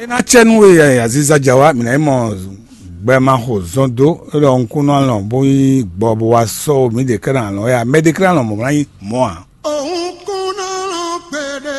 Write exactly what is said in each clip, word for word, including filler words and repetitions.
É ná cɛ nú we aziza ja wá, mǐ ná yi mɔ gbɛmaxo zɔn dó, é ɖɔ un kún nɔ alɔn bó nyí gbɔ bó wá sɔ́ mǐ ɖe kɛ́ ná alɔn wɛ a? Mɛ ɖe kɛ́ ná alɔn mɔ̌ ná nyí mɔ̌ ǎ. Òun kún nɔ alɔn kpéɖé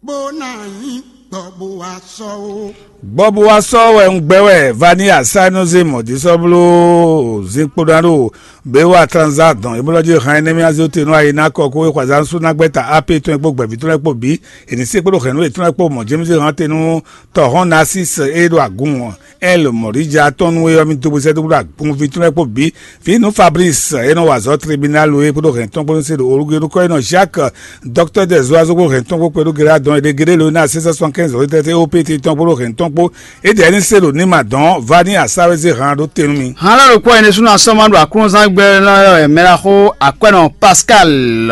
bó ná nyí gbɔ bó wá sɔ́ ó. Gbɔ bó wá sɔ́ wɛ un gbɛ wɛ va ní asá nɔ zé mɔ̌ dí sɔ́ bló zín kpó ná ɖo bě wá tranzá dɔn é bó lɔ́ jí hán énɛ́ mì azé te nú ayi ná kɔ kó é xwazán sú ná gbɛ́ ta á pé tɔn é kpó gbɛ̌ví tɔn é kpó bǐ. È nǐ se kpódó hɛ̌nnu yětɔn lɛ́ɛ kpó mɔ̌ James hán te nú tɔ̌hɔn Narcisse e ɖo agun ɛl mɔ̌ɖija tɔn nú é ɔ́, mì dó bó sɛ́ dó kpódó agunví tɔn lɛ́ɛ kpó bǐ. Vǐ nú Fabrice e nɔ wa azɔ̌ tribunal é kpódó hɛ̌n tɔn kpó nú se ɖo olúgbe nukɔ́ e nɔ Jacques, docteur des oiseaux kpó hɛ̌n tɔn kpó kpɛɖó Gérard dɔn è ɖe géɖé lo ná sɛ́n sɛ́n sɔnkɛ́nzɔ́ tɛ́tɛ́ ó pété tɔn kpódó hɛ̌n tɔn kpó. É ɖɛ̌ ní se ɖo ní ma dɔn vá ní asá wɛ zé han ɖó te nú mì. Hán lɛ́ ɖokpó ɛnɛ súnnu asɔ́ ma ɖo aklúnɔzán gbɛ lɔ́ wɛ mɛ ɖaxó Akwɛ́nɔ Pascal,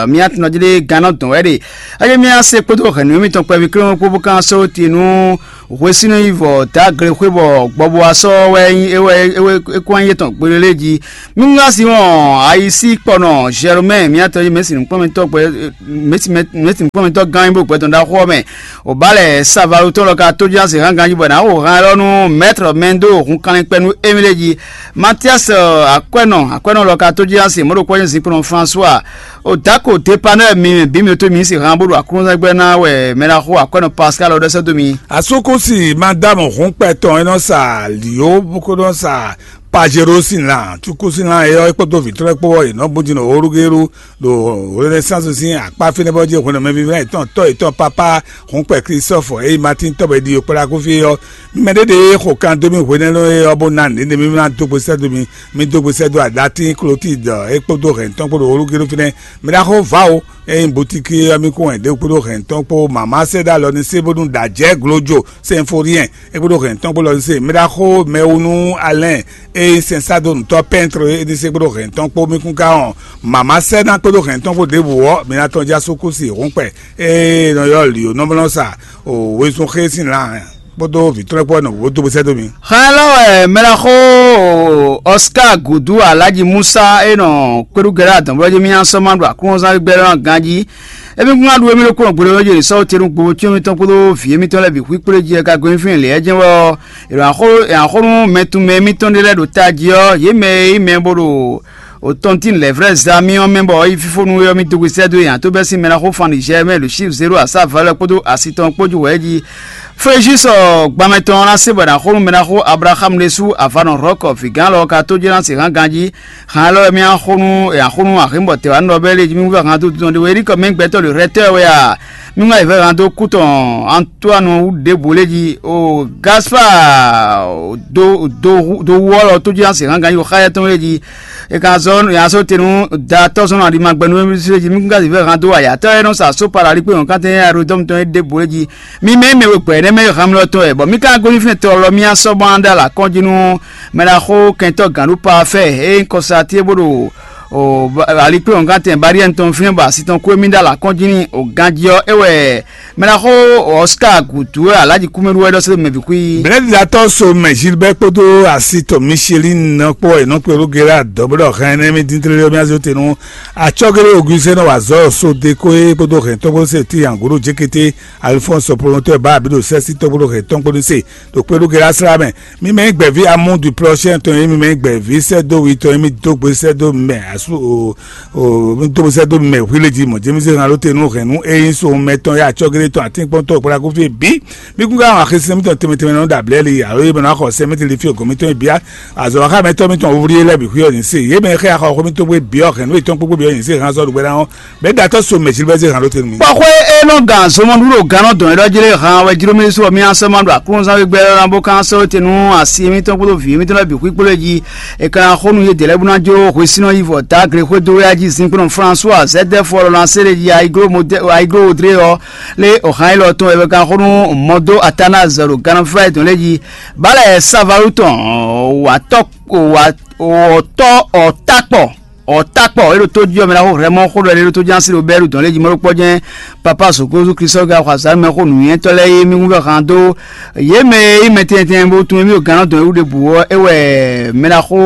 mía tɔnɔjíɖé gannɔ dɔn wɛ ɖe. Ényí mía se kpódó hɛ̌nnu mitɔn kpɛví kléwún kpó bó kán sɔ́ te nú hwesínú yi vɔ dǎgle xwé bɔ gbɔbɔ asɔ́ wɛ nyí é wɛ é wɛ é kún anyí étɔn gblélé jí. Mí ŋá Simɔn ayisí kpɔnɔ Jɛromɛ, mía tɔn nyí mɛ̌si nukpɔ́nmɛtɔ́ gbɛ mɛ̌si nukpɔ́nmɛtɔ́ gán nyí bó gbɛtɔn ɖaxó ɔ́ mɛ. Obalɛ Savalu tɔn lɔ ka tójúzán se hán ganjí bɔ è nǎ xo hán élɔ́ nú mɛ̌trɔ mɛndo hun kanlin kpɛ́ nú émí ɖé jí. Matias Akwɛ́nɔ Akwɛ́nɔ lɔ ka tójúzán se mɔ̌ ɖokpó nyí zinkplɔ́n François. Odako Depanɛ́ mi bǐ mi tó mi se hán bó ɖo aklúnɔzán gbɛ́ ná wɛ mɛ ná xo Akwɛ́nɔ Pascal ɔ́ ɖɔ sɛ́ dó mi. Asúkúsi Madámu Hǔnkpɛ tɔn e nɔ sa lǐó bó ko nɔ sa Pajero sín lan, cukú sín lan é ɔ́, é kpódó vǐ tɔn lɛ́ɛ kpó ɔ́, yě nɔ bú din ɖo Olúgélu ɖo Renaissance sín akpá fínɛ́ bɔ jí hwenu mɛvívɛ́ yětɔn tɔ́ yětɔn pápá Hǔnkpɛ Klísɔ́fɔ e nyí Matín tɔ́ bɔ è ɖi yǒkplákúfí é ɔ́. Mɛ ɖé ɖe e xo kan dó mì hwenɛ́ é ɔ́ bó ná nǔɖé mì ná dó gbe sɛ́ dó mi, mi dó gbe sɛ́ dó aɖatín Klotide é kpódó hɛ̌n tɔn kpó ɖo Olúgélu fínɛ́. Mi ná xo vǎ o, é nyí butíki ɔ́ mì kún wɛn ɖě kpódó hɛ̌n tɔn kpó mǎmá sɛ́ ɖó alɔ ní sé bónú ɖa jɛ̌ glojo Sɛnforiɛn é kpódó hɛ̌n tɔn kpó lɔ ní sé. Mi ná xo mɛwú nú Alɛ́n e nyí sɛnsádonutɔ́ pɛ́ntre é ní sé kpódó hɛ̌n tɔn kpó mì kún ká hɔn mǎmá sɛ́ ná kpódó hɛ̌n tɔn kpó ɖěbǔ ɔ́, mi ná tɔ́n já sú kú si hǔnkpɛ e nɔ ylɔ́ lǐ ó nɔ́ sa o wezun xé sín lan kpódó vǐtrɔ́ kpó nɔ wǒ dó bó sɛ́ dó mi. Xá lɔ wɛ mɛ ná xó Oscar Gudu Alhaji Musa e nɔ kpéɖu gɛ́ ɖo adɔ̌nblɔ́ jí mì nyaná sɔ́ ma ɖo aklúnɔzán gbígbɛ́ lɔ ganjí. Émí kún ná ɖu émí ɖokpónɔ gbeɖé ɔ́ jí sɔ́ tenu gbowó cyɔ́n mitɔn kpódó vǐ émítɔn lɛ́ɛ bǐ xwí kplé jí ɛ ka gɔ́ nyi fínɛ́ lě ɛ jɛ́n wɛ ɔ́, è nɔ xó è nɔ xó nú mɛ tun mɛ émítɔn ɖé lɛ́ɛ ɖo tají ɔ́, yě mɛ e nyí mɛ bó ɖo o tɔntin lɛ̌ vrɛ́ za mì ɔ́ mɛ bɔ é yí fífó nú é ɔ́, mì dó gbe sɛ́ dó yě ǎ tó bɛ́ sín mɛ ná xó fan Nizɛ́ɛ mɛ ɖo Sívu zéro asá valɛ kpódó asi tɔn kpó ju wɛ̌ jí. Fléjisɔ gbanmɛ tɔn ɔ́ ná se bɔ è nǎ xo nú mɛ ná xó Ablaxámu ɖésú avǎnɔ Hlɔ̌kɔ vǐgán lɔ ka tó jɛ́n ná se hán ganjí. Hǎn élɔ́ wɛ mì nǎ xo nú è nǎ xo nú Ahlǐnbɔtɛ́wanú ɔ́ bɛ́ lě jí mì vɛ́ han dó dundun ɖé wú é ɖi kɔ mɛ gbɛtɔ́ ɖo Hlɛtɔ́ wɛ a? Mì wá yi vɛ́ han dó kú tɔn Antoanu wú ɖěbǔ lé jí o Gaspar do do do wú ɔ́ lɔ tó jí ná se hán ganjí o xáyá tɔn lé jí. È ka zɔ è nǎ sɔ́ te nú da tɔ́ zɔn aɖi ma gbɛ nú émí lé jí. Mì kún ka yi vɛ́ han dó ayǎtɔ́ e nɔ sa sópa ɖo alikpé nyɔ̌kántɛn e Aɖodɔ́mu tɔn é ɖěbǔ lé jí. Mi mɛ e mɛ we gbɛ nɛ́ mɛ e han mi lɔ tɔn wɛ, bɔ mi ka gosín fínɛ́ tɔ lɔ mì nɔ sɔ́ bɔ ná ɖó alǎ kɔn jí nú mɛ ná xó kɛntɔ́ gǎn ɖó pafɛ́ e nyí kɔsatíe bó ɖo o alikpé wɔ̌ngantɛn Bariɛ́nu tɔn fínɛ́ bɔ asi tɔn kú émí ɖó alǎ kɔn jí n'i o ganjí ɔ́, é wɛ mɛ ná xó Ɔsika gǔtú e Alhaji Kúmɛɖu wɛ ɖɔ sɛ́ mɛ bǐ xwí. Blɛ̌ɖiɖatɔ́ so mɛ Gilbert kpódó asi tɔn Michelin nɔ kpó wɛ è nɔ kpé ɖó Gérard dɔ̌ bó ɖɔ hɛn énɛ́ mí dín tlélé ɔ́ mì azé te nú acɔ́géɖé Augustin nɔ wa azɔ̌ so Deko é kpódó hɛn tɔ́gbó se Tiyan gǔɖo Jékété Alphonse promoteur bá abǐ ɖo sɛ́sítɔ́ kpódó hɛn tɔn kpódó se ɖo kpé ɖó Gérard slá mɛ. Mi mɛ nyí gbɛ̌ví Amour du Prochain tɔn e mi mɛ nyí gbɛ̌ví sɛ́dó wi tɔn e mi dó gbe sɛ́dó mɛ asú o o mi dó gbe sɛ́dó mɛ hwilé jí mɔ̌ Jémísé hɛn aló te nú hɛn nú e nyí so mɛ tɔn e acɔ́géɖé tɔn atínkpɔ́ntɔ́ kplakúfí bǐ. Mi kún ká hɔn axisín mítɔn tɛnmɛ tɛnmɛ nɔ ɖo ablɛ́li alo e mɛ nɔ xɔ sɛ mítɔn li fí ògɔn mítɔn e bǐ azɔ̌ xá mɛtɔ́ mítɔn wúvlí lɛ́ɛ bǐ xwí ɔ́ nyǐ se. Yě mɛ e xɛ́ axɔ xó mítɔn gbé bǐ ɔ́ hɛn nú yětɔn kpókpó bǐ ɔ́ nyǐ se hɛn azɔ́ ɖo gbɛ́ ná ɔ́. Bɛ̌ ɖatɔ́ so mɛ Gilbert zé hǎn ɖó te nú mì. Kpɔxwé e nɔ gǎn zɔmɔɖuɖo gǎnnɔ dɔn é ɖɔ jí lé hǎn wɛ jló mì sú ɔ́ mì asɔ́ ma ɖo aklúnɔzán wé gbɛ́ ná bó kán sɔ́ te nú asi mítɔn kpódó vǐ mítɔn lɛ́ɛ bǐ xwí kpó lɛ́ jí. È ka ná xó nú yědɛɛ lɛ́ɛ bó ná jó hwesínɔ yi vɔ dǎ gle xwé dó wéyá jí zinkplɔ́n François Zɛdɛ́fu ɔ́ lɔ ná se ɖé jí Ayiglo Odré ɔ́ lé ɔ̌ hǎn élɔ́ tɔn wɛ é ka xó nú Mɔdó Atanaz ɖo Gannaflá tɔn lɛ́ɛ jí. Bálɛ Savalu tɔn wǎtɔ́ wǎtɔ́ ɔ́ tá kpɔ. Ɔ́ takpɔ é ɖo tó jí ɔ́ mɛ ɖaxó hlɛmɔ xó ɖɔ é ɖo tó jí asi ɖo bɛ́ ɖo dɔn lé jí mɔ ɖó kpɔ́ jɛ́n. Papa soko zu Kristo ga xɔ azǎn mɛ xó nǔnywɛ́tɔ́ lɛ́ɛ é mí wú vɛ han dó yě mɛ e nyí mɛ tɛntɛn bó tunwun émí ɖo gannɔ dɔn é wú ɖěbǔ ɔ́, é wɛ mɛ ɖaxó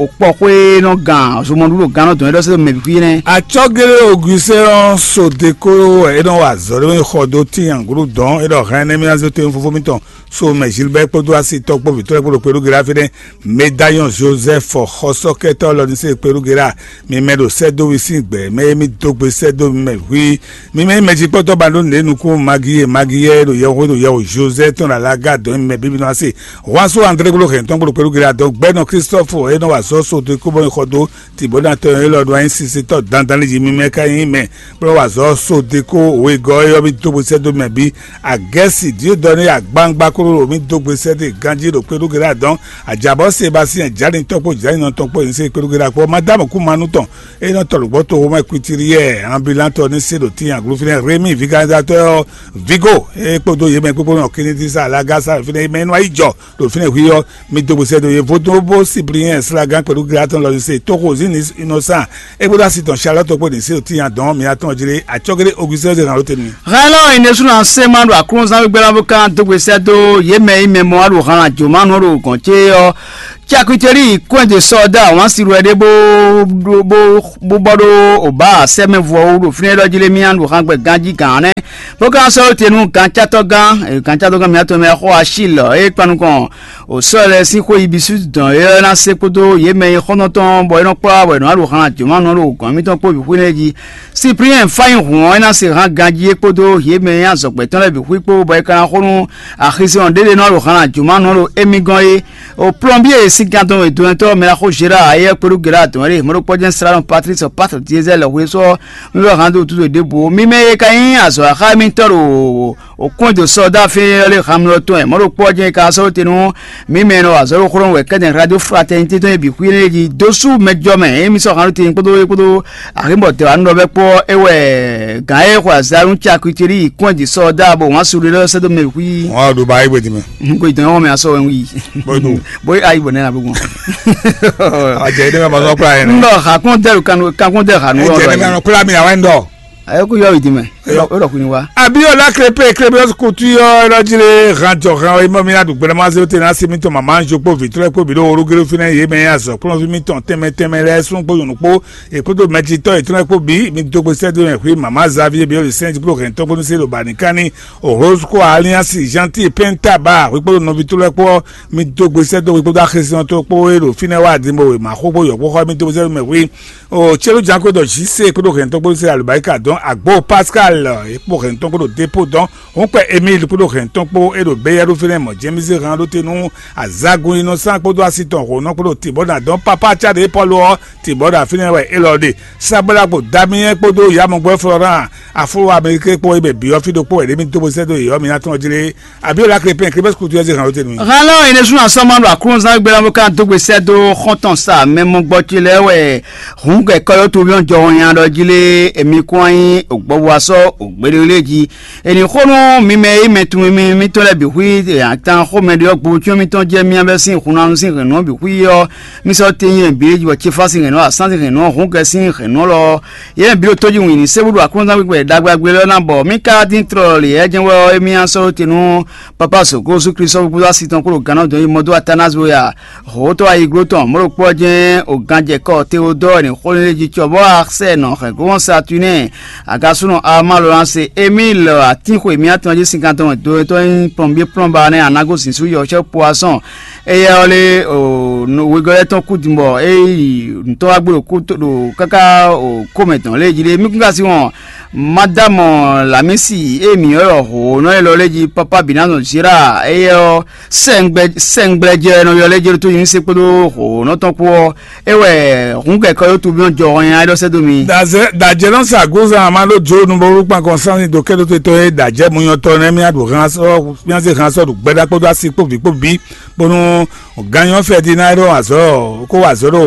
òkpɔxwé nɔ gǎn zomɔɖu ɖo gannɔ dɔn é ɖɔ sɛ́ ɖo mɛ bǐ xwí nɛ́. Atsɔ́gélé Augustin ɔ́ so deko wɛ é nɔ wa azɔ̌ ɖé xɔ dó tín angǔɖu dɔn é ɖɔ hɛn énɛ́ mì ná zé tó nyí fofó mitɔn so mɛ Gilbert kpódó asitɔ́ kpó vǐtɔ́ lɛ́ɛ kpó ɖo kpéɖó Gera fínɛ́. Médaillon Joseph xɔsɔ́kɛtɔ́ lɔ ní se kpéɖó Gera, mi mɛ ɖo sɛ́dó wi sín gbɛ̌ mɛ e mi dó gbe sɛ́dó mi mɛ hwí. Mi mɛ nyí mɛjikpɔ́tɔ́ ba ɖó nǔɖé nukún Magi e Magi yɛ ɖo yɛhweɖo yɛhwe Joseph tɔn ɖo alaga dɔn mi mɛ bíbí nɔ ase. Juan so André kpódó hɛn tɔn kpódó kpéɖó Gera dɔn gbɛ́nɔ Christophe e nɔ wa azɔ̌ so dó kóbɔ xɔ dó Tibonatɔn élɔ́ ɖo anyi sisetɔ́ dandan lí jí mímɛ́ ká nyí mɛ, bó nɔ́ wa azɔ̌ so deko wegɔ́ e ɔ́ mì dó gbe sɛ́ dó mɛ bǐ. Agɛ́si Diodɔni agbangba kóló mì dó gbe sɛ́ dó ganjí ɖo kpéɖúgbe ɖé adɔn. Ajabɔ́ Sebasiyɛn Jǎlintɔ́ kpó Jǎlinɔtɔn kpó nyí se kpéɖúgbe ɖé akpɔ́ Madámu kú manú tɔn, é nɔ tɔ lǒgbɔ́ toxomɛ Kwitiliyɛ ambilantɔ ní se ɖo tíin aglú fínɛ́ Rémi viganizatɔ́ ɔ́ Vigo é kpódó yě mɛ kpékpé nɔ Kinidisa Lagasa fínɛ́ mɛ nɔ yi jɔ ɖo fínɛ́ hwí ɔ́, mi dó gbe sɛ́ dó yě vodún bó Sipliyɛn slagán kpɛɖú Gilatɔn lɔ se tóxo Zini Inosan é kpódó asi tɔn Salɔ́tɔ kpó ɖě se tíin adɔn mi atɔn jí lé acɔ́gédé Ogusɛ́n zé hǎn ló te n'i. Hɛn lɔ yin ɖésú ná sɛ́ ma ɖo aklúnɔzán gbígbɛ́ ná bó ká dó gbe sɛ́ dó yě mɛ e mɛ mɔ wá ɖo han ajǒmánu ɔ́ ɖo gɔ̌n cé ɔ́, Cakuteli kɔn de sɔ́ dó awǎn si wɛ ɖé bó bó bó bɔ ɖó obǎ sɛ́mɛvɔ wú ɖo fínɛ́ ɖɔ jí lé mì ɖo han gbɛ ganjí gǎn nɛ́, bó ka sɔ́ te nú gancátɔ́gán gancátɔ́gán mǐtɔn mɛ xɔ Achil é kpan nukɔn o sɔ́ lɛ́ɛ sín xwé yi bǐ sú dɔn é ɔ́ ná se kpódó yě mɛ e xɔ́ntɔn tɔn bɔ é nɔ kplɔ́ wá bɔ è nɔ wá ɖo han jǒmánu ɔ́ ɖo gɔ̌n mǐtɔn kpó bǐ xwé nɛ́ jí. Sipliyɛn fá nyi hǔn ɔ́, é ná se hán ganjí é kpódó yě mɛ e nyí azɔ̌gbɛ́ tɔn lɛ́ɛ bǐ xwí kpó bɔ é ka ná xo nú axizɔn ɖé ɖé nɔ ɖo han ajǔmánɔ ɖo émí gɔ́n é. O plɔ́nbyé e sín kan tɔn e dɔnɛtɔ́ mɛ ná xó Zera ayɛ́ kpéɖú Gera dɔn ɖe mɔɖokpɔ́ jɛ́n Slalɔn Patlísi Pátr Diezɛ́l hwesú ɔ́, mí wɛ hán dó wútu ɖo ɖěbǔ ó. Mímɛ́ e ka nyí azɔ̌ axá émítɔn ɖo o kún e dó sɔ́ dó afí ɔ́ lé han mlɔ tɔn wɛ mɔɖokpɔ́ jɛ́n e ka sɔ́ te nú mí mɛ e nɔ wa azɔ̌ ɖo xlɔ́ wɛ kɛ́dɛn Radio Fraternité tɔn e bǐ xwí énɛ́ jí dó sú mɛjɔ mɛ e mí sɔ́ han ɖó te kpódó é kpódó Ahinbɔ tɛwanu ɖɔ bɛ́ kpɔ́ é wɛ gǎn e xɔ azǎn nú Cakuteli yi kɔn jí sɔ́ dá bɔ wǎn su ɖé lɛ́ɛ sɛ́ dó mɛ xwí. Wọn ɖo ba ayigbe di mɛ. N ko ìtàn yɔn mɛ asɔ wɛ wí. Bó do. Bó ayi bɔ nɛ na bó gbɔn. Àjẹ yìí dẹ́gbẹ́ ma sọ kúrò ayé nɛ. N dɔ hakun dɛ kanu kakun dɛ hanu. Ẹ jẹ ní ma kúrò mi àwọn ẹ̀ ń dọ̀. Ayé kú yọ ìdí mɛ. Ó dọ̀ kú ni wá. Abiola Crepe Crepe kutu yɔ lọ́jìlẹ̀ hàn jọ hàn ìmọ̀ mi adùgbẹ́rẹ́ máa ṣe ó tẹ̀ náà sí mi tán màmá ń jokpó vìtúrẹ́ kpó bìdó orúgéré fínẹ́ yé mẹ́ azọ̀ kplọ́n fí mi tàn tẹ́mẹ́ tẹ́mẹ́ lẹ́sùn kpó yòónù kpó èkúdó mɛjitɔ́ ètúnɛ́kpóbí mi dó gbe sɛ́dó mɛ xwé mama Xavier bí ó lè sɛ́n jí kúrò hɛn tɔ́gbónú sí lobani kánní Orozco Alliance Gentil Penta ba wíkpódó nɔví tó lɛ́kpó mi dó gbe sɛ́dó wíkpódó axésínɔ́ tó kpó é ɖo fínɛ́ wá Adimbo wěma xóxó yɔ̌kpóxɔ mi dó gbe sɛ́dó mɛ xwé o célu janko dɔ jise kpódó hɛn tɔ́gbónú sí alubáríkà dɔn agbo Pascal kpó hɛn tɔ́gbónú dépôt dɔn Hǔn kpɛ Emíli kpódó hɛn tɔn kpó é ɖo béyɛ́ ɖó fínɛ́ mɔ̌ jɛ́n mì zé han ɖó te nú azagun inɔsán kpódó asi tɔn hǒnɔ kpódó tǐbɔ́ ná dɔn pápá cáɖé Pɔ́lu ɔ́ tǐbɔ́ ɖo afínɛ́ wɛ élɔ́ ɖe. Sáblágbo Damiyɛ́n kpódó Yamɔgbɔ́ Florán afúló Amɛlikɛ́ kpó é bɛ bǐ ɔ́ fí ɖokpó wɛ ɖě mì dó bó sɛ́ dó yě ɔ́ mi ná tɔ́n jí lé. Abíɔlá Krépin Krépin kutu ɔ́ zé han ɖó te nú mì. Hɛn lɔ ene sún asɔmɔ ɖo aklúnɔzán gbé ná bó ká dó gbe sɛ́ dó xɔ́ntɔn sa mɛ mɔgbɔ ce lɛ́ɛ wɛ hǔn gɛ̌ kɔ́yɔ́tɔn jɔ nya ɖɔ jí lé èmi kún wá nyí ògbɔ́bú asɔ́ ògbéɖélé jí. È nǐ xo nú mi mɛ e nyí mɛ tunwun mì mitɔn lɛ́ɛ bǐ xwí atan xomɛ ɖe ɔ́ gbo cyɔ́n mitɔn jɛ mì bɛ́ sín hunanu sín hɛ̌nnu ɔ́ bǐ xwí ɔ́, mì sɔ́ te nyɛ bǐ bɔ Cefási hɛ̌nnu, Asánsi hɛ̌nnu, Hǔngɛ sín hɛ̌nnu lɔ, yě mɛ bǐ ɖo tójí wǐn ní sé búɖu aklúnɔzán gbígbɛ ɖagbe ɖagbe lɛ́ɛ ná bɔ mì ka dín tlɔlɔ̌ lě yɛ jɛ́n wɛ ɔ́, émí ná sɔ́ te nú Papa Zǒgózú Klísu ɔ́ kpódó asi tɔn kpó ɖo gǎnnɔ dɔn yi mɔdó Atanás bó ya. Hǒtɔ́ ayiglo tɔn mɔ̌ ɖokpó ɔ́ jɛ́n o ganjɛkɔ Teodɔ́ɔ e nǐ xó lé jí cɔ bɔ Arsɛ́nɔ hɛ̌nglɔ́n Satunɛ́ɛ, agasúnɔ Almalolase Emíl atínxwe mǐtɔn jí sinkantɔn dotɔ́ nyí plɔnbyé plɔ́nba nɛ́ anágó zǐnzú yɔ̌cyɔ́ Poasɔn éyɛ́ ɔ́ lé wegɔ́ lɛ́ɛ tɔn kú din bɔ é yi nǔtɔ́ wá gbé ɖo kú ɖo káká komɛ tɔn lé jí ɖé. Mí kún ka sí wɔn Madámɔ Lamísi e mǐ ylɔ́ hǒnɔ élɔ́ lɛ́ɛ jí Pápá Bǐnazɔn Zíra éyɛ́ ɔ́, sɛ́ngbɛ́jɛ́nɔ ylɔ́ lɛ́ɛ jɛ ɖó tó nyí se kpódó hǒnɔ tɔn kpó ɔ́, é wɛ hǔn kɛkɔ yó tubí ɔ́ jɔ hɔn nya é ɖɔ sɛ́ dó mi. Dajɛ dajɛ nɔ sa gozan a ma ɖo jo nu bɔ wúkpan kɔn sanni do kɛ ɖo te tɔ ye dajɛ mu nyɔ tɔ nɛ mi a ɖo han sɔ mi a se han sɔ ɖo gbɛɖa kpódó asi kpó vi kpó bi bónú ganyɔ fɛ di na ɖo azɔ kó wa azɔ ɖo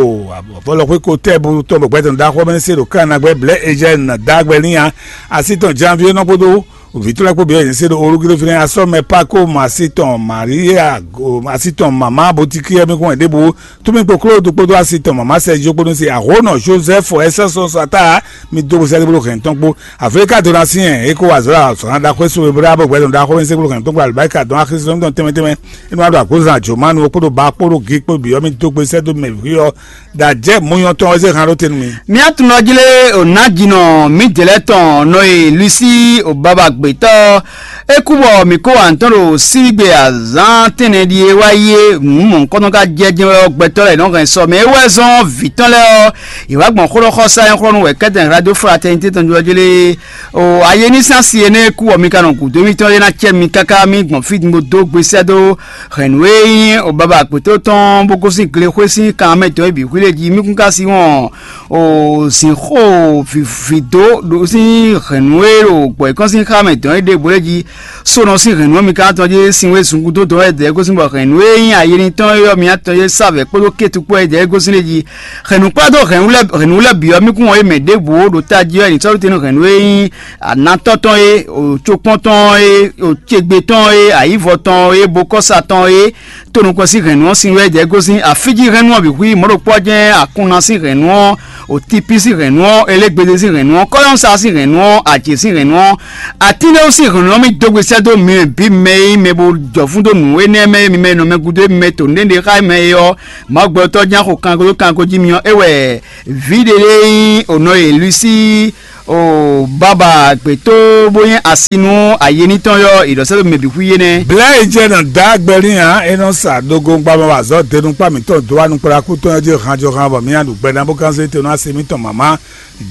vɔlɔ xwé ko tɛ bu tɔn bɔ gbɛtɔ da xɔ mɛ se ɖo kan na gbɛ blɛ ejɛ na da gbɛ ni ya asi tɔn janvier nɔ kpódó Vǐ tɔn lɛ́ɛ kpó bǐ wɛ yě se ɖo olúgíɖó fínɛ́, asɔ́ mɛ Pako mɔ asi tɔn Maria, asi tɔn mama Botikiyɛ́ mɛ kún wɛ ɖěbǔ, tún mì kpó Klódu kpódó asi tɔn mama Sɛ́zio kpódó se ahǒnɔ Jozɛ́fu ɛsɛ́sɔn sata. Mi dó bó sɛ́dó bló hɛn tɔn kpó. Aflika dó ná syɛn é kó wa zɔ̌ azɔ̌ ná ɖaxó e sówe blá bó gbɛdɔn ɖaxó e sɛ́ bló hɛn tɔn kpó alibáríka dɔn axi sɔ́ tɔn tɛnmɛ tɛnmɛ. É nɔ wá ɖo agbózan jǒmánu kpódó ba kpódó gi kpó bǐ ɔ́, mi dó gbe sɛ́dó mɛ vǐ ɔ́, ɖo ajɛ̌ mɔnyɔ́tɔn ɔ́ zé han ɖó te nú mi. Mía tunɔjlé o nǎjínɔ mǐdɛlɛ́ tɔn nɔ e Lusi o baba gbětɔ́ é kú bɔ mǐ kó wa nǔ tɔn ɖo sígbe azǎn tɛ́nnɛ ɖíe wá yi é nǔ mɔ̌hunkɔtɔn ka jɛ jɛ́n wɛ ɔ́, gbɛtɔ́ lɛ́ɛ nɔ hɛn sɔ mɛ é wɛ zɔ́n vǐ tɔn lɛ́ɛ ɔ́, yě wá gbɔn xó ɖɔ xɔ sá nyɔ́xɔ́nú wɛ kɛ́tɛn radio fraternité tɔn jlɔ́jlé o ayé ní sín asi énɛ́ e kú bɔ mi ka nɔ gǔdo mitɔn é ná cɛ mi káká mì gbɔn fí din bó dó gbe sɛ́ dó hɛ̌nnu e nyí o baba gbětɔ́ tɔn bó gosín glexwé sín kan mɛ tɔn é bǐ xwílé jí mí kún ka sí wɔn o zǐnxó vǐvǐ dó ɖo sín hɛ̌nnu e ɖo gbɔ̌yǐkɔ́n sín xá mɛ dɔn é ɖěbǔ lɛ́ɛ jí. Sónɔ sín hɛ̌nnu ɔ́ mi ka tɔn jí sin wé zungun dó dɔn wɛ dɛ̌ gosín bɔ hɛ̌nnu e nyí ayénitɔn é ɔ́ mi tɔn jí savɛ kpódó kétu kpó wɛ dɛ̌ gosín lé jí. Hɛ̌nnu kplá dó hɛ̌nnu lɛ́ɛ hɛ̌nnu lɛ́ɛ bǐ ɔ́ mi kún wɔn é mɛ ɖěbǔ ɖo tají wɛ ní sɔ́ tɛ́nú hɛ̌nnu e nyí anatɔ́ tɔn é, o cokpɔ́n tɔn é, o cegbe tɔn é, ayǐvɔ tɔn é, bokɔ́sa tɔn é, to nukɔn sín hɛ̌nnu ɔ́ sin wɛ jɛ gosín afíjí hɛ̌nnu ɔ́ bǐ hu yi mɔ̌ ɖokpó ɔ́ jɛ́n akunna sín hɛ̌nnu ɔ́, o tipi sín hɛ̌nnu ɔ́, elégbede sín hɛ̌nnu ɔ́, kɔ́yɔ́nsa sín hɛ̌nnu ɔ́, ajě sín hɛ̌nnu ɔ́, atín ɖé sín hɛ̌nnu ɔ́ mì dó gbe sɛ́ dó mi bǐ mɛ e nyí mɛ bo jɔ fún dó nǔ énɛ́ mɛ e mi mɛ nɔ mɛ gúdo e mi mɛ to nǔɖé ɖe xá mɛ é ɔ́, Mawu gbɛtɔ́ ján xo kanko dó kanko jí mi ɔ́, é wɛ vǐ ɖé lɛ́ɛ nyí o nɔ e Lusi o baba gbětó bó nyí asi nú ayénítɔn yɔ́, è ɖɔ sɛ́ ɖo mɛ bǐ xwí é nɛ́. Blɛ̌ e jɛ nɔ dǎ gbɛlín ǎ, é nɔ sa dogo gbamɔ wa azɔ̌ denukpá mǐtɔn dó wá nukplankú tɔn ɔ́ jí hanjɔhan bɔ mǐ nǎ ɖu gbɛ ná bó gán zé te nú asi mǐtɔn mǎmá.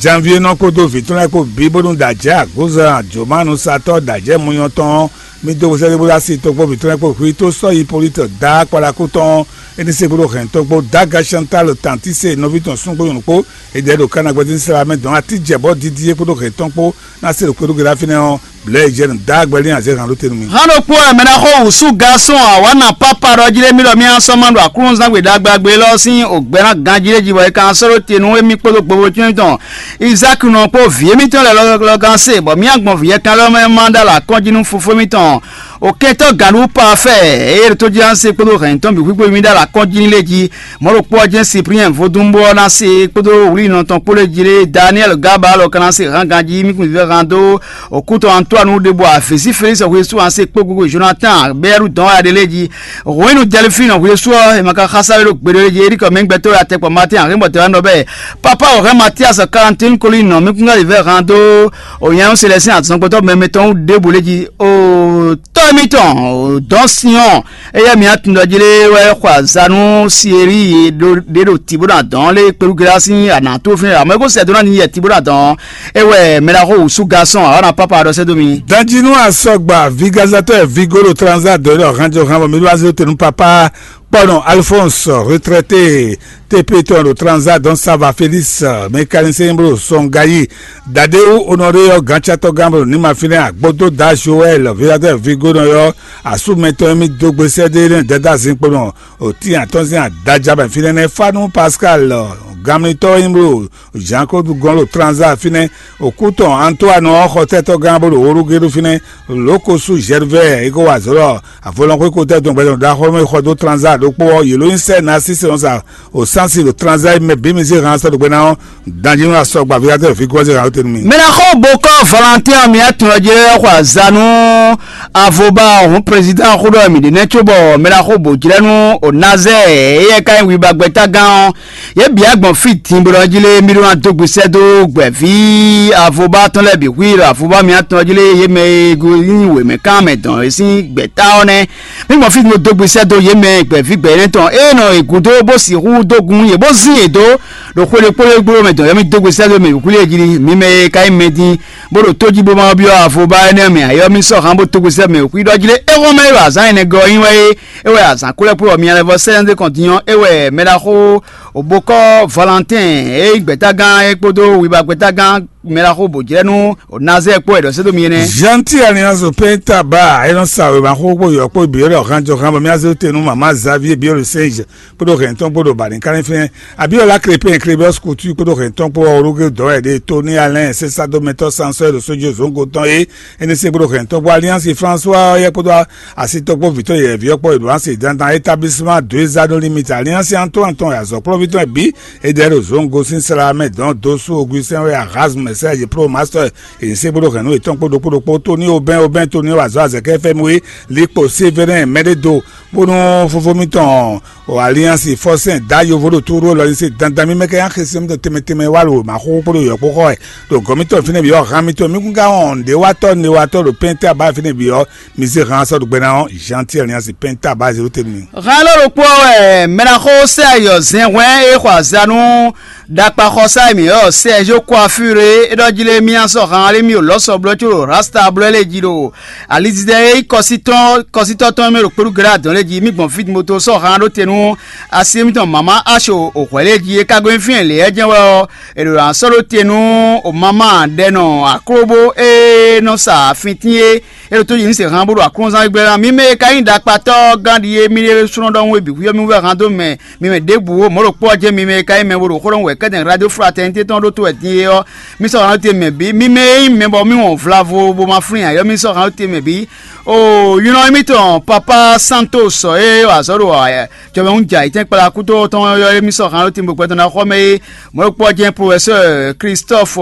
Janvier nɔ kpódó vǐ tɔn lɛ́ɛ kpó bǐ bónú ɖo ajɛ̌ agbǒzan jǒmanusatɔ́ ɖo ajɛ̌ munyɔ tɔn ɔ́, mì dó sɛ́dó bó dó asi tɔn kpó vǐ tɔn lɛ́ɛ kpó hwi tó sɔ́ Hipólíte dǎ kpalaku tɔn ɔ́, é ní se kpódó hɛn tɔn kpó dǎ Gacantál Tantíse nɔví tɔn súngbó nyɔ̌nu kpó, è ɖɛ ɖo Kana gbɛtɔ́ Izlayɛ́li mɛ dɔn atíjɛbɔ́ dídí é kpódó hɛn tɔn kpó ná se ɖo kpéɖóge ɖa fínɛ́ ɔ́, blɛ̌ e jɛ nǔ dá gbɛlín azě han ɖó te nú mì. Hán ɖokpó wɛ mɛ ná xo wǔsú gasɔn awǎna pápá ɖɔ jí lé mì ɖɔ mì asɔ́ ma ɖo aklúnɔzán gbe ɖagbe agbe élɔ́ sín ògbɛ́ ná ganjí lé jí bɔ è ka sɔ́ ɖó te nú émí kpódó gbogbo tɔn émítɔn Izáki nɔ kpó vǐ émítɔn lɛ́ɛ lɔ́ lɔ́ gán se, bɔ mì agbɔn vǐ yɛkan lɛ́ɛ mɛ ma ɖó alɔ akɔ́njí nú fofó émítɔn. Okɛntɔ́ gǎnɖú Pafɛ́ɛ, eye ɖo tójínásé kpódó hɛ̌nnyitɔ́ bǐ xwíxwé mì ɖó alɔ akɔ́njí lé jí. Mɔ̌ ɖokpó ɔ́ jɛ́n Sipliyɛn vodúnbó ɔ́ ná se kpódó wlǐnɔ tɔn kpó lɛ́ɛ jí lé, Daniɛ́li Gabal ɔ́ ka ná se hán ganjí mì kún vívɛ́ han dó òkútɔn Antoine ɖěbǔ, Afěsi Felísi ɔ́ xwesú an se kpó gogo Jonatán Bɛ́ɛru dɔn wá ɖe lɛ́ɛ jí. Hwenu Dɛlifín ɔ́ xwesú ɔ́, è ma ka xá sáré ɖó gbeɖé lɛ́ɛ jí, é ɖi kɔ mɛ gbɛtɔ́ atɛkpɔ Matín Axémɔtɔ́ wá nɔ bɛ́. Papa Ɔ̀hɛ́ Matías Kalantini Kolínɔ mì kún vívɛ́ han dó ònyɛ́nú Selɛsín azɔngbɔtɔ́ mɛmɛ tɔn ɖěbǔ lɛ́ɛ jí. O tɔ́ émítɔn, dɔ̌n Sinyɔ́ɔ, éyɛ́ mǐ atundɔ jí lé wɛ xɔ azǎn nú Sielíi ɖé ɖo tǐ bó ná dɔn lé kpelúgelá sín anǎ tó fínɛ́, amɔ̌ é ko sɛ dó ná n'i yɛ tǐ bó ná dɔn. É wɛ mɛ ɖaxó wǔsú gasɔn awǎna pápá ɖɔ sɛ́ dó mi. Danjinu asɔgba vigazatɔ́ vigo ɖo tranza dɔ̌ ɖɔ hanjɔ han bɔ mi ɖó azé te nú papá kpɔnɔ Alphonse retraité T P tɔn ɖo tranza dɔn sava Félix mécanicien blo sɔngayi. Dadewu Honoré ɔ́ gancatɔ́ gán blo ní ma fínɛ́ agbódó da Joël vigadɔ́ vigo nɔ yɔ asúmɛtɔn émí dó gbe sɛ́ dó énɛ́ dada zinkpo nɔ òtí atɔ́nzin adaja bɛ fínɛ́ nɛ́ fá nú Pascal gánmlitɔ́ nyí blo Jean Claude gɔn ɖo tranza fínɛ́. Òkú tɔn Antoine ɔ́ xɔ tɛ́tɔ́ gán bó ɖo wóɖúgéɖú fínɛ́. Lǒkosu Gervais é ko wa azɔ̌ ɖɔ avɔlɔnxwé ko tɛ́ dɔn gbɛdɔn ɖaxó mɛ xɔ dó tranza ɖokpó ɔ́, yě ló nyí sɛ́ Narcisse nɔ sa òsánsi ɖo tranza e mɛ bǐ mi zé han sɔ́ ɖo gbɛ ná ɔ́, danjínú asɔgba Vigadɔ́ fi gɔ́ zé han ó te nú mi. Mɛ ná xɔ bokɔ Valentin ɔ́, mi atún ɔ́ jɛ xɔ azanu avoba ɔ̀hún président xó ɖɔ mi ɖě nɛ́ cóbɔ mɛ ná xɔ bò jlɛ́ nú Onazɛ éyɛ́ ka nyí wibagbɛ́tagán ɔ́. Yě bǐ agbɔn fí din bó ɖɔ jí lé mí ɖó ná dó gbe sɛ́ dó gbɛ̌ví avoba tɔn lɛ́ɛ bǐ xwí ɖo avoba mǐtɔn jí lé yě mɛ e go nyí wěmɛkán mɛ dɔn é sín gbɛ̌ta ɔ́ nɛ́. Mí gbɔn fí din bó dó gbe sɛ́ dó yě mɛ gbɛ̌ví gbɛ̌ énɛ́ tɔn é nɔ è gǔdo bó sixú dó gun yě bó zín yě dó ɖo xwé ɖokpó ɖé gblo mɛ dɔn yɔ́ mí dó gbe sɛ́ dó mɛ bǐ xwí lé jí lé mí mɛ e ka nyí mɛ din bó ɖo tó jí bó ma byɔ́ avoba énɛ́ mɛ ayɔ́ mí sɔ́ hán bó dó gbe sɛ́ mɛ bǐ xwí ɖɔ jí lé é xɔ́n mɛ é ɖo azǎn énɛ́ gɔ́ ɔ́ nyí wɛ é. É wɛ azǎn kúlɛ́kúlɛ́ ɔ́ mi lɛ́ vɔ sɛ́ ná dé kɔn din ɔ́, é wɛ mɛ ɖaxó Obokɔ Valentin e nyí gbɛ̌tagán é kpódó wiba gbɛ̌tagán mɛ ɖaxó bǒjlɛ́nú Nazɛ́ɛ kpó wɛ ɖɔ sɛ́ dó mi énɛ́. Jean-Ti Alliance Penta Ba é nɔ sa wěma xó kpó yɔ̌ kpó bǐ é ɖɔ hánjɔhán bɔ mì azé te nú mama Xavier Biolosenge kpódó hɛn tɔn kpódó Balinkanlin fínɛ́. Abiola Crépin Klebɔs Kutu kpódó hɛntɔn kpó ɔ́, Ológe dɔn wɛ ɖe Toni Alɛn sésádómɛtɔ́ Sansɔ́ ɖo sójú zǒngo tɔn é. É ní se kpódó hɛntɔn kpó Aliansi François ɔ́ yɛ kpódó asitɔn kpó vǐtɔ́ yɛ̌yɛ́ví ɔ́ kpó Edouard se dandan établissement deux anneaux limite Aliansi Antoine tɔn azɔ̌kplɔ́ví tɔn bǐ. É ɖɛ ɖo zǒngo sín sla mɛ dɔn dó sú Augustin wɛ Erasme Serge Pro Master. È ní se kpódó hɛ̌nnu yětɔn kpó ɖokpó ɖokpó Toni Obɛn Obɛn Toni wɛ azɔ̌ azɛ̌kɛ fɛ́mú é. Likpo Sévérin Mɛɖédo bónú fofó mitɔn o Aliansi Fɔsɛn da yovo ɖo tóɖó lɔ ní se dandan mímɛ́ kɛ nyi xesin mitɔn tɛnmɛ tɛnmɛ wá ɖo mǎxóxó kpódó yɔ̌kpóxɔ wɛ ɖo gɔ̌ mitɔn fínɛ́ bǐ ɔ́, han mitɔn mí kún ká wɔn nǔɖé watɔ́ newatɔ́ ɖo pɛ́ntɛ́ abá fínɛ́ bǐ ɔ́, mi zé han sɔ́ ɖo gbɛ ná ɔ́, Jean Thierry Aliansi pɛ́ntɛ́ abá zéro tɛnmɛ. Han lɔ ɖokpó ɔ́ wɛ mɛɖaxó Sɛ́yɔ zɛn hwɛ́n e xɔ azǎn nú ɖakpaxɔsá e mǐ ylɔ́ Sɛ́zó Kwafure é ɖɔ jí lé mì sɔ́ han lé mì ɖo lɔ̌sɔ blɔ́ có ɖo Rasta blɔ́ lé jí ɖo alizizɛ e nyí kɔsítɔ́ kɔsítɔ́ tɔn e mɛ ɖo kpéɖú Galaa dɔn lé jí. Mì gbɔn fí moto sɔ́ han ɖó te nú asi émítɔn mama Aso o hwɛ̌ lé jí é ka gɔ́ nyí fínɛ́ lě ɛ jɛ́n wɛ ɔ́, è ɖo ná sɔ́ ɖó te nú o mama ɖɛnɔ aklóbó e nɔ sa afintín é. É ɖo tó yi ní se han bó ɖo aklúnɔzán gbígbɛ́ ná. Mi mɛ e ka nyí ɖakpatɔ́ gán ɖi é, mi ɖésúnɔ ɖɔhun e bǐ xwíyɔ́ mì wú wɛ han dó mɛ. Mi mɛ ɖěbǔ o mɔ̌ ɖo kpɔ́ ɔ́ jɛ́n mi mɛ e ka nyí mɛ bo ɖo xó ɖɔhun wɛ kɛ́tɛn radio fraternité tɔn ɖó to wɛ din é ɔ́, mi sɔ́ han ɖó te mɛ bǐ. Mi mɛ e nyí mɛ bɔ mì wɔn vlavo bó ma flín ǎ ɔ́, mi sɔ́ han ɖó te mɛ bǐ. O ylɔ́ émítɔn Papa Santos ɔ́ e wa azɔ̌ ɖo jɔmɛhún jɛ ayǐtɛ́nkpla kútó tɔn ɔ́, émí sɔ́ han ɖó te bó gbɛtɔ́ ná xɔ mɛ é. Mɔ̌ ɖo kpɔ́ jɛ́n professeur Christophe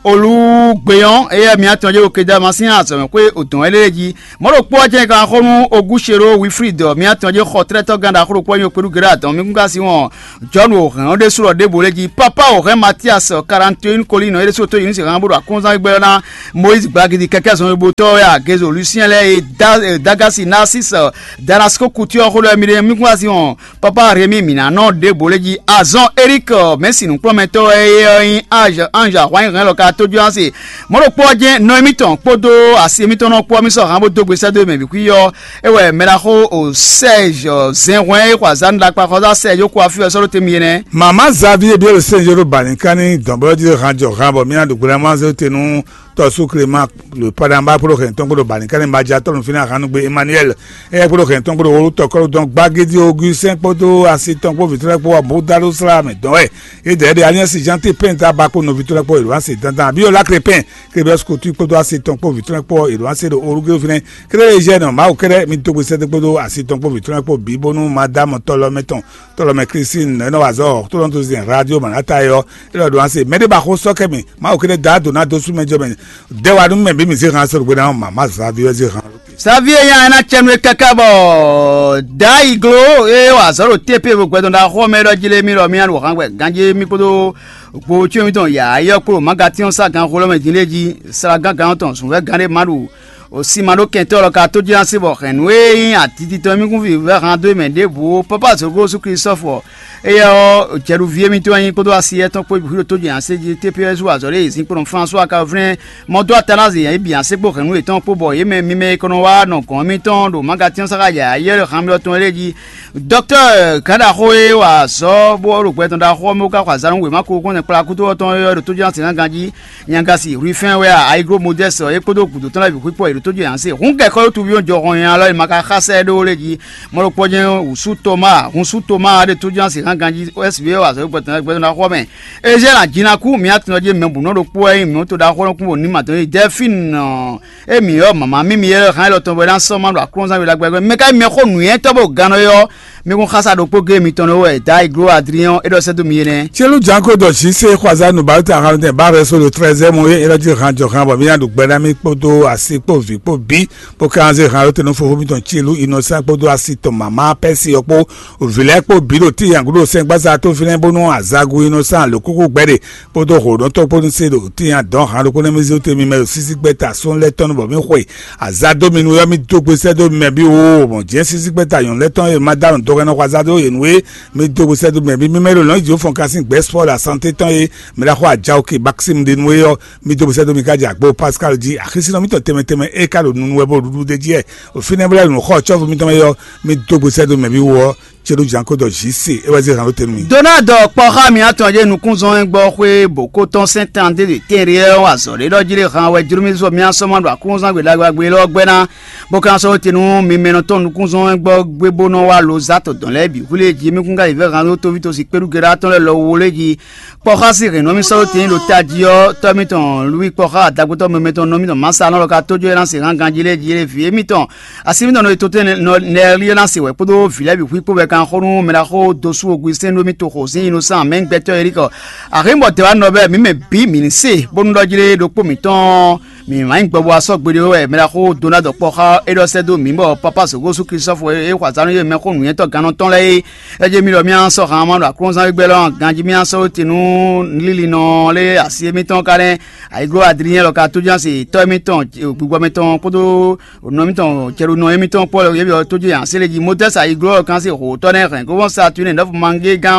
Olugbeyan, éyɛ́ mǐ atɔn jɛ Okedama sín azɔ̌mɛxwé odɔn éɖée jí. Mɔ̌ ɖokpó ɔ́ jɛ́n kan xó nú Oguchero Wilfrid, mǐ atɔn jɛ xɔtlɛ́tɔ́ gán ɖaxó ɖokpó ɔ́ nyí Okpéɖu Gerard, mǐ kún ka sin wɔn John Òhɛn ɔ́ ɖésú ɖɔ ɖěvo lé jí. Papa Òhɛn Matias Karantoin Kolín ɔ́ ɖésú tó yi nú sixan bó ɖo akɔ́nzán gbɛ́ ná Moyiz Gbagidi kɛkɛ́ zɔnlibotɔ́ wɛ agezo Lucien lɛ́ɛ e Dagasi Narcisse Danasko Kutu ɔ́ xó ɖɔ mǐ ɖe mǐ kún ka sin wɔn Papa Rémi mǐ ná nɔ ɖěbǔ lé jí. Azɔn Eric, mɛ̌si nǔkplɔ́nmɛtɔ́ wɛ é ɔ́ nyí Ange Ange ahwan nyi hɛn lɔ ka tójú ase. Mɔ̌ ɖokpó ɔ́ jɛ́n nɔ émítɔn kpódó asi émítɔn nɔ kpó ɔ́ mì sɔ́ han bó dó gbe sɛ́ dó mɛ bǐ xwí ɔ́. É wɛ mɛ ɖaxó o Sɛ́ɛzɔ zɛnhwɛ́n e xɔ azǎn ɖo akpa xɔzá Sɛ́ɛzɔ kó afí ɔ́ sɔ́ ɖó te mi nɛ́. Mama Xavier Biel Senjoro Balinka ní dɔ̌nblɔ́ jí han jɔ han bɔ mì ná ɖo gbe ná má zé te nú tɔ́sú Clément le Padamba kpódó hɛn tɔn kpódó Balinka ní ma jɛ atɔ́ nú fínɛ́ ahan nú gbe Emmanuel. Éyɛ́ kpódó hɛn tɔn kpódó wolo tɔkɔ́lù dɔn Gbagédi Augustin kpódó asi tɔn kpó vǐtɔ́ lɛ́ɛ kpó wá bó dá ɖó slá mɛ dɔn wɛ. É dɛ̌ ɖe Alliance Jean T Penta ba kpó nɔví tɔn lɛ́ɛ kpó Edouard se dandan Abiola Crépin Kébɛs Kutu kpódó asi tɔn kpó vǐtɔ́ lɛ́ɛ kpó Edouard se ɖo Orugé fínɛ́. Kéré Eugène Mawu kɛ́ɖɛ́ mi dó gbe sɛ́dó kpódó asi tɔn kpó vǐtɔ́ lɛ́ɛ kpó bǐ bónú Madame Tɔlɔmɛ tɔn Tɔlɔmɛ Christine nɔ é nɔ wa azɔ̌ tó nɔ tó zin radio Manata é ɔ́, é ɖɔ Edouard se mɛɖé ba xó sɔ́ kɛ mì Mawu kɛ́ɖɛ́ dá dǒ ná dó sú mɛ jɔ mɛ. Dɛ́ wa nú mɛ bǐ mi zé han sɔ́ ɖo gbe ná mama Xavier zé han. Xavier nya ɛ ná cɛ nú é káká bɔ Daiglo e wa azɔ̌ ɖo T P vo gbɛdɔn ɖaxó mɛ ɖɔ jí lé mì ɖɔ mì ɖo han gbɛ ganjí mì kpódó gbo cyɔ́n mitɔn yǎyɔ́ kpó magatínɔ sá gan xó lɔ́ mɛ din lé jí sla gángan tɔn zǔnvɛ́ gán ɖé ma ɖu o sin ma ɖó kɛntɔ́ lɔ ka tó jí ná se bɔ hɛ̌n nú e nyí atititɔ mì kún vǐvɛ́ han dó mɛ ɖěbǔ. Papa zǒgó sú Klistɔ́fu ɔ́, éyɛ́ ɔ́, jɛɖuví émítɔn nyí kpódó asi étɔn kpó bǐ ɖo tó jǐ ǎ sé jí T P S wú azɔ̌ ɖé e zinkpo nɔ Flánsuwa Kalvin mɔdó Atanazi yě bǐ ǎ sékpó hɛ̌nnu yětɔn kpó bɔ yě mɛ mimɛ e kɔ nɔ wá nɔ gɔ̌n émítɔn ɖo magatínɔ sáxa yǎyá yɛ́ ɖo han mì ɔ́ tɔn lɛ́ɛ jí. Dɔktɔ́ gǎn ɖaxó e wa azɔ̌ bó ɖo gbɛ tɔn ɖaxó ɔ́ mɛ wú ká xɔ azǎn nú wěma ko kɔn kplá kútó ɔ́ tɔn e ɖo tó jɛ́n ná se ná ganjí. Nyagasi Rufɛn wɛ a Ayiglo Modɛ́s ɔ́, é kpódó gǔdo tɔn lɛ́ɛ bǐ xwíkpɔ yě ɖo tó jɛ yǎn se. Hǔn gɛ̌ kɔ́ ɖó tuví ɔ́ jɔ hɔn nyi alɔ e ma ka xá sɛ́ ɖó lé jí. Mɔ̌ ɖokpó jɛ́n wǔsú Toma, hunsu Toma ɖe tó jɛ́n asi hán ganjí S V ɔ́ azɔ̌ gbɛtɔ́ gbɛtɔ́ ná xɔ mɛ. Ezɛ́la Jinaku mǐ atɔn jí mɛ bǔ nɔ ɖokpó wɛ nyí mǐ to ɖaxó nɔ kún bɔ ní ma tɔn yí Dɛfín ɔ́, émí ɔ́ mama mímí yɛ hán élɔ́ tɔn bɔ é ná sɔ́ ma ɖo aklúnɔzán we ɖagbe mɛ ká mɛ xó nǔnywɛ́tɔ́ bó gannɔ é ɔ́, mi kún xásá ɖokpó géé mitɔn nɔ wɛ Daiglo Adrien é ɖɔ sɛ́ dó mi é nɛ́. Celu janko dɔ si se xwaza nu bawo ta han tɛ ba rɛ so le trɛzɛ mo ye era ji han jɔ han bɔ mi na ɖu gbɛ na mi kpódó asi kpó vi kpó bi bó ka zé han ló tenu fofo mitɔn Celu Innocent kpódó asi tɔn mama pɛsi ɔkpó vilɛ kpó bi ɖo ti yangu ɖo sɛn gbasa tó finɛ bónú azagu Innocent le kúkú gbɛ ɖe kpódó hǒɖɔtɔ kpódó se ɖo ti yan dɔn han ɖokpó nɛ mi zé te mi mɛ ɖo sisi gbɛ ta sɔn lɛ tɔn bɔ mi xwe aza dó mi nu yɔ mi dó gbe sɛ dó mi mɛ bi wo mɔ jɛ sisi gbɛ ta yɔn lɛ tɔn ye ma da nɔ dɔgɛ nɔ xwaza dó ye nu ye mi dó gbe sɛ dó mi mɛ bi mi mɛ ɖo lɔn ijo fɔn kasi gbɛ sport la santé tɔn ye mi la xɔ ajawo ke bakisi mi de nu ye yɔ mi dó gbe sɛ dó mi ka jɛ agbo Pascal ji axisi nɔ mi tɔn tɛmɛ tɛmɛ e ka ɖo nunu wɛ bó ɖuɖu de ji yɛ o finɛ bla nu xɔ tsɔfu mi tɔn ye yɔ mi dó gbe sɛ dó mi mɛ bi wo Céɖó Janko ɖɔ J C é wɛ zé hɛn ɖó te nú mì. Donald kpɔ́ xá mǐ atɔn jɛ nukúnzɔ́n e gbɔ xwé bǒ ko tɔn sɛ́n tan dé ɖe tɛnɖe ɔ́ azɔ̌ ɖé ɖɔ jí lé han wɛ jló mì zɔ mì asɔ́ ma ɖo aklúnɔzán gbe ɖagbe ɖagbe élɔ́ gbɛ́ ná, bó ka ná sɔ́ te nú mi mɛ nɔ tɔn nukúnzɔ́n e gbɔ gbé bó nɔ wá lo zá tɔ dɔn lɛ́ɛ bǐ xwlé jí mì kún ka yi vɛ́ han ɖó tóví tosi kpéɖú geɖá tɔn lɛ́ɛ lɔ wo lé jí. Kpɔ́ xá sí hɛ̌n nɔ mì sɔ́ ɖó tɛn ɖo tají ɔ́, tɔ́ mǐtɔn Lwíi kpɔ́ xá adagbotɔ́ mɛmɛtɔn nɔ mítɔn Masa nɔ lɔ ka tójó é ná se hán ganjí lɛ́ɛ jí lé vǐ émítɔn. Asi mítɔn nɔ e totɛ́n nɛ́ lí ɔ́ ná se wɛ kpódó vǐ lɛ́ɛ bǐ xwí kpó wɛ kan xó nú mɛɖaxó dosú Ogwisɛ́n ɖó mì toxo sín Inosán mɛ gbɛtɔ́ Elíkɔ. Axǐ bɔ dɛ̌ wá nɔ bɛ́ mǐ mɛ bǐ mǐ ní se, bónú ɖɔ jí lé ɖokpó mǐtɔn mǐ má nyí gbɔbɔ asɔ́ gbeɖé wɛ mɛɖaxó Donald kpɔ́ xá é ɖɔ sɛ́ dó mǐ bɔ Papa Zogosu Klistɔ́fu e xɔ azǎn nú yě mɛxó nǔnywɛ́tɔ́ gannɔtɔn lɛ́ɛ é. É jí mì ɖɔ mí ná sɔ́ han ma ɖo aklúnɔzán gbígbɛ́ lɔ ganjí mì ná sɔ́ tɛn nú lílinɔ lé asi émítɔn ka nɛ́. Ayǐgló Adrinyɛn lɔ ka tójánsi tɔ́ émítɔn gbigbɔ mɛtɔn kpódó nɔ émítɔn cɛɖonɔ émítɔn Pɔ́lu yě byɔ́ tójí ǎ sélé jí Modɛ́si ayǐgló lɔ kan sín hǒtɔ́ nɛ́ hɛn gɔ́vɔ́n Saturne nɔ́fu mangé gán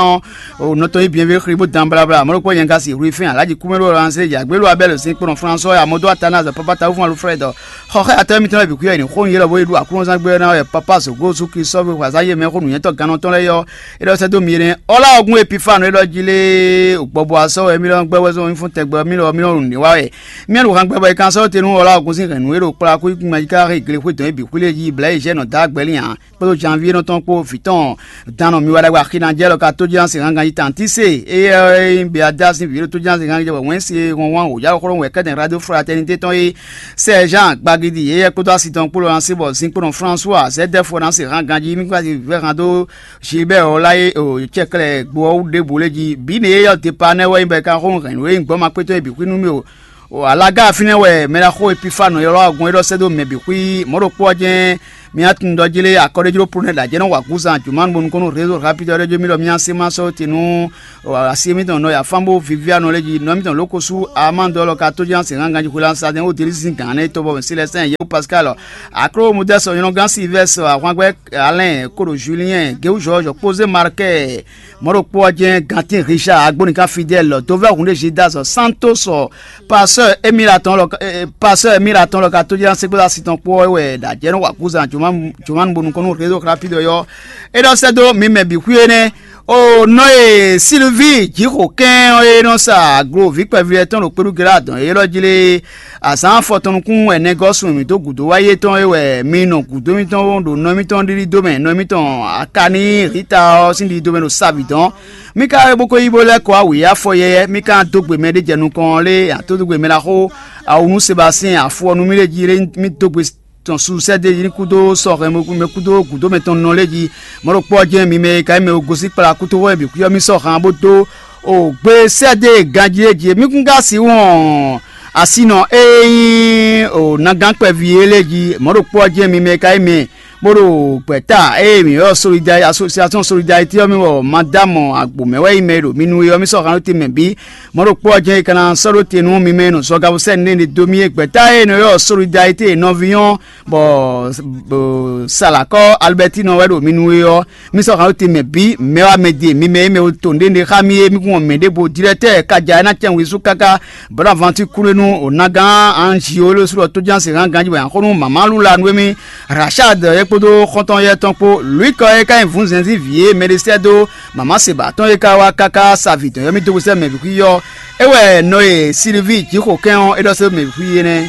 ɔ́, nɔ tɔn yí byɛnvé xlí bó dan blabla mɔ̌ ɖokpó nyɛ ka si Rufin alǎji kúmɛɖó lɔ ná sélé jí agbélú Abɛ́lu sín kplɔ́n Fransɔ́ ya Modó Atanaz Papa Tawúfɔ́n Alfrɛ́d xɔxɛ́yatɔ́ émítɔn lɛ́ɛ bǐ kwíyɔ è nǐ xó nú yě lɔ bó yi ɖo aklúnɔzán gbé ɔ́ ná wɛ Papa Zogosu Klistɔ́fu xwazán yě mɛ xó nǔnywɛ́tɔ́ gannɔtɔ́ lɛ́ɛ yɔ́. É ɖɔ sɛ́ dó mi énɛ́ ɔ́ lá ɔ́ gún epifanu é ɖɔ jí lé gbɔbɔ asɔ́ wɛ mí lɔ gbɛ́ wɛ zɔn mí fún tɛgbɛ mí lɔ mí lɔ nǔɖé wa wɛ. Mí ɖo han gbɛ bɔ è kan sɔ́ te nú ɔ́ lá ɔ́ gún sín hɛ̌nnu é ɖo kplá kú ikun mɛ ká xé gle xwé dɔn é bǐ xwlé jí blɛ̌ yi zɛ́ nɔ dó agbɛ́ lin ǎ kpódó janví énɔ́ tɔn kpó vǐ tɔn dán nɔ mi wá ɖagbe axi ná jɛ lɔ ka tójánsi hángan yi tantí se éyɛ́ é nyí Beadási vǐ ɖo tójánsi hángan jɛ bɔ wɛ̌n se hɔnhɔn wǒjá xlɔ́ wɛ kɛ́dɛn radio fraternité tɔn é. Sɛ́ Jean gbagidi éyɛ́ kpódó asi tɔn kpó lɔ ná se bɔ zinkpɔ́nɔ François zɛ́dɛ́fɔ ná se hángan jí mí kpá vɛ́ han dó Gilbert ɔ́ lá é cɛklɛ́ gbo ɔ́ wú ɖěbǔ lé jí bǐ nɛ é yɔ depa nɛ́ wɛ nyí bɔ è ka xó hɛ̌nnu e nyí gbɔ́ ma kpétɔ́ é bǐ xwí nú mì o. Alaga fínɛ́ wɛ mɛ ɖaxó Epifanu ylɔ́ agun e ɖɔ sɛ́ dó mɛ bǐ xwí mɔ̌ ɖokpó ɔ́ jɛ́n mì nǎ tunwun ɖɔ jí lé akɔ́ɖéjló Polonɛ́ ɖo ajɛ̌ nɔ wa gǔzan jǔmanu bónú kɔn nú rézo rapide ɔ́ ɖɔ jó mì ɖɔ mì nǎ se ma sɔ́ te nú asi émítɔn nɔ ya fán bó Viviano lé jí nɔ émítɔn Lókosú Amando ɔ́ lɔ ka tó jɛ́n asi hán ganjí xwé lásán dɛn ó delí sín gǎn nɛ́ tɔbɔ Silɛsɛn Yɛwu Pascal Akló Mudɛ́sɔ nyɔ́nɔgán Silvɛ́sɔ ahwangbɛ́ Alɛn kóɖo Julien Géwúzɔ́ Jɔkpózé Markɛ mɔ̌ ɖokpó ɔ́ jɛ́n Gantín Richard Agbónika Fidèle dovɛ́ hun ɖé Gildas Santos pasteur Emile atɔn lɔ pasteur Emile atɔn lɔ ka tójá sɛ́gbɛ́ asi tɔn kpó ɔ́ wɛ ɖo ajɛ̌ nɔ wa gúzan Jomanu bó nukɔn nú rézo rapide ɔ́ é ɖɔ sɛ́ dó mi mɛ bǐ xwí énɛ́. O nɔ e Silvíi jǐxo kɛ́n ɔ́ e nɔ sa aglo vǐ kpɛví lɛ́ɛ tɔn ɖo kpéɖúgela dɔn élɔ́ jí lé azǎn afɔtɔn nukún wɛ nɛgɔ́ sun mǐ dó gǔdo wá yé tɔn é wɛ mi nɔ gǔdo mitɔn ɖo nɔ mitɔn ɖiɖi dó mɛ nɔ mitɔn Akaní Rita ɔ́ sín ɖiɖi dó mɛ ɖo savi dɔn. Mí ka bó ko yí bó lɛ́ kɔ awǐ afɔ yɛyɛ́ mí ka dó gbe mɛ ɖé jɛ nukɔn ɔ́ lé atódógbe mɛ ɖaxó awunú Sebasɛ́n afɔ ɔ́ nú mì lé jí lé mí dó gbe tɔn su sɛ́ dó yi ní kúdó sɔhɛn mɛ kúdó gǔdo mɛ tɔn nɔ lé jí. Mɔ̌ ɖokpó ɔ́ jɛ́n mi mɛ e ka nyí mɛ e gosín kplá kútóxɔ e bǐ xwíyɔ́ mì sɔ́ han bó dó o gbe sɛ́ dó e ganjí é jí mí kún ka sixú wɔn asinɔ e nyí o nagán kpɛví é lé jí. Mɔ̌ ɖokpó ɔ́ jɛ́n mi mɛ e ka nyí mɛ bó ɖo gbɛ̌ta ée mǐ ylɔ́ Solidarité, Association Solidarité ɔ́ mì bɔ Madámɔ Agbǒmɛ wɛ nyí mɛ e ɖo mi nu é ɔ́, mì sɔ́ han ɖó te mɛ bǐ. Mɔ̌ ɖokpó ɔ́ jɛ́n è ka ná sɔ́ ɖó te nú mi mɛ e nɔ zɔgabusɛ́ nɛ́ ɖe dó mì é gbɛ̌ta e nɔ ylɔ́ Solidarité nɔvínyɔ́ bɔ Salakɔ́ Alibɛ́tinɔ wɛ ɖo mi nu é ɔ́, mì sɔ́ han ɖó te mɛ bǐ. Mɛ wá mɛ de mi mɛ e mɛ to nǔɖé nɖé xá mì é, mì kún wɔn mɛ ɖěvo dirɛtɛ́ kaja e ná cɛn wezú káká Bonavanti kúnnu nú o nagán Anjiolósu ɖɔ tójánse hán ganjí bɔ nǎ xo nú mama Lula nú émí Rachad é kpódó xɔ́ntɔn yɛ́ tɔn kpó Luíkɔ é ka nyí vǔnzɛnzí vǐ e mɛɖé sɛ́ dó mama Seba tɔn é ka wá káká sa vǐ tɔn yɔ́mí dó sɛ́ mɛ bǐ xwí ɔ́. É wɛ nɔ e Silvíi jǐxo kɛn ɔ́ é ɖɔ sɛ́ dó mɛ bǐ xwí énɛ́.